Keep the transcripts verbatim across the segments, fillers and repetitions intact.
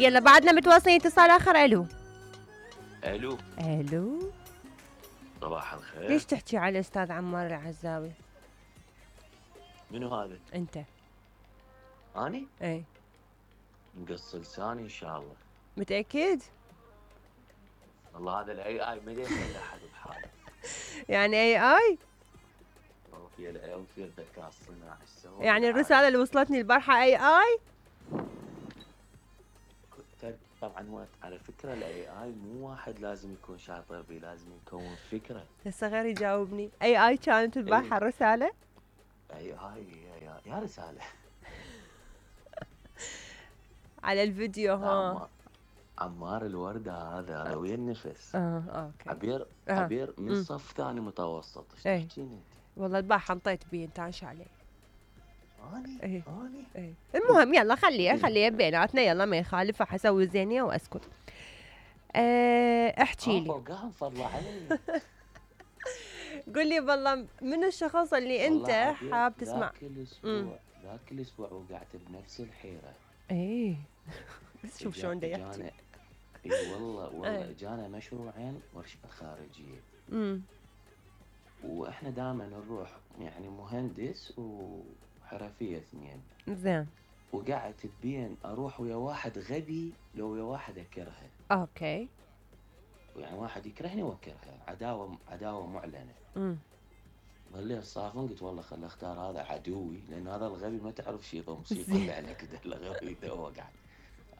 يلا بعدنا متواصلين اتصال اخر. الو الو الو صباح الخير. ليش تحكي على الاستاذ عمار العزاوي؟ منو هذا؟ انت. اني؟ اي مقص لساني ان شاء الله. متاكد؟ والله هذا الاي اي ما يدري احد بحاله. يعني اي اي؟ وفي الاي وفي الذكاء الصناعي السوا. يعني الرساله اللي وصلتني البارحه اي اي؟ طبعا وقت على فكره الاي اي مو واحد لازم يكون شاطر بيه، لازم يكون فكره. هسه غير يجاوبني. اي اي كانت البارحه الرساله؟ اي اي يا, يا رساله على الفيديو. ها عمار, عمار الورده هذا روي النفس. اه اوكي. عبير آه. عبير من م. صف ثاني متوسط. ايش ايه. تحكين انت؟ والله البارحه انطيت بيه انت عايش عليه. اني ايه اني ايه. المهم يلا خليها خليها بيناتنا، يلا ما يخالف، حسوي زينيه واسكت. أه احكي لي. فوقهم فضل علي. قل لي والله من الشخص اللي انت حاب تسمع. ذاك الاسبوع ذاك الاسبوع وقعت بنفس الحيره. ايه بس شوف شلون دا يحكي. اي والله والله ايه. جانا مشروعين ورشات خارجيه. امم واحنا دائما نروح يعني مهندس وحرفيه اثنين. زين. وقعدت بين اروح ويا واحد غبي لو ويا واحد اكرهه. اوكي. يعني واحد يكرهني واكرهه، عداوه عداوه معلنه. امم ظليت صافن، قلت والله خل اختار هذا عدوي، لان هذا الغبي ما تعرف شي يضم شي يطلع عليك كذا. الغبي ذا وقع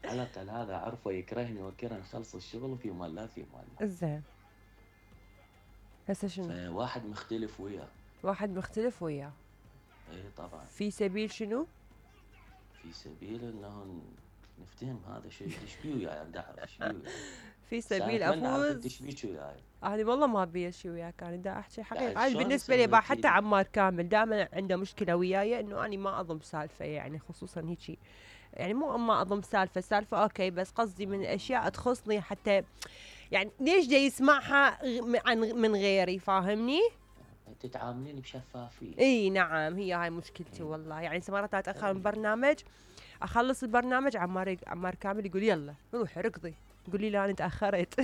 على الاقل هذا عرفه يكرهني واكره، نخلص الشغل وفي مال لا في مال. زين. هسه شنو؟ واحد مختلف وياه. واحد مختلف وياه. اي طبعا. في سبيل شنو؟ في سبيل انه نفتهم هذا شو ايش بيه وياي، بدي اعرف ايش بيه. في سبيل افوز. ايش بيك وياي؟ انا والله ما ابي شيء وياك، انا دا احكي حقيقه. انا شلون بالنسبه لي يصير با هيك؟ حتى عمار كامل دائما عنده مشكله وياي انه انا ما اضم سالفه، يعني خصوصا هيجي، يعني مو ما اضم سالفه سالفه اوكي، بس قصدي من الاشياء تخصني حتى يعني ليش جاي يسمعها غ- عن من غيري، فاهمني؟ تتعاملين بشفافيه. اي نعم، هي هاي مشكلتي والله. يعني مرات اتاخر من برنامج، اخلص البرنامج عمار عمار كامل يقول يلا روحي ركضي، قولي لا انا تاخرت.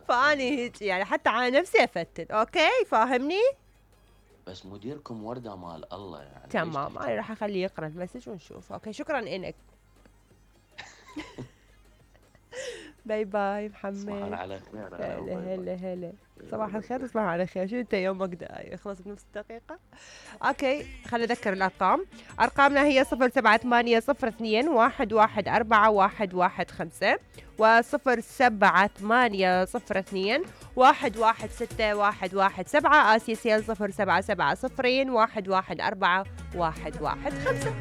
فاني هيك يعني حتى على نفسي افتن. اوكي فاهمني؟ بس مديركم ورده مال الله يعني. تمام، انا راح اخليه يقرا المسج ونشوف. اوكي شكرا لك. باي باي محمد. تصبحون على خير. هلا هلا هلا. صباح الخير تصبحوا على خير. شو انت يومك دقايق يخلص بنفس دقيقة؟ اوكي خلينا نذكر الارقام. ارقامنا هي صفر سبعة ثمانية صفر اثنين واحد واحد أربعة واحد واحد خمسة وصفر سبعة ثمانية صفر اثنين واحد واحد ستة واحد واحد سبعة. اسيا سيل صفر سبعة سبعة صفرين واحد واحد أربعة واحد واحد خمسة.